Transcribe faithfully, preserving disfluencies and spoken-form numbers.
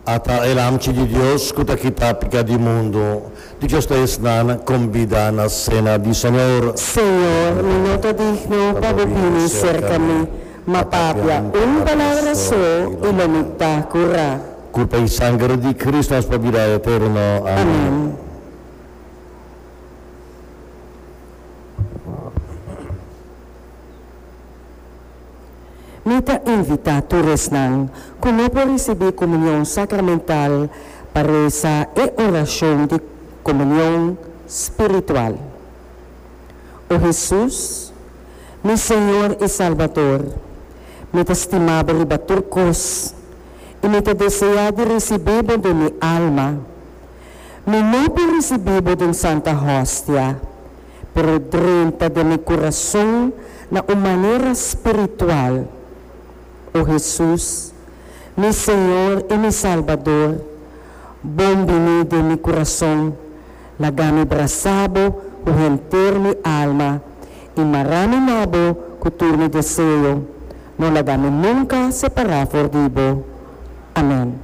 Ata e Lamchi di Dios ku ta kita piká di mundu. Dichoso ta esnan kombidá na sena di Señor. Señor, mi no ta digno pa bo bini serka mi, ma papia un palabra so i lo mi ta kurá. Kurpa i sanger di Kristu nos pa bida eterno. Amèn. Amèn. Mi ta invitá tur esnan ku no por risibí komunion sakramental pa resa e orashon di komunion spiritual. O Hesus, mi Señor i Salbador, mi ta stima bo riba tur kos i mi ta deseá di risibí bo den mi alma. Mi no por risibí bo den Santa Hostia, pero drenta den mi kurason na un manera spiritual. O Hesus, mi Señor i mi Salbador, bon biní den mi kurason. Laga mi brasa bo ku henter mi alma i mara mi na bo ku tur mi deseo. No laga mi nunka separá for di bo. Amèn.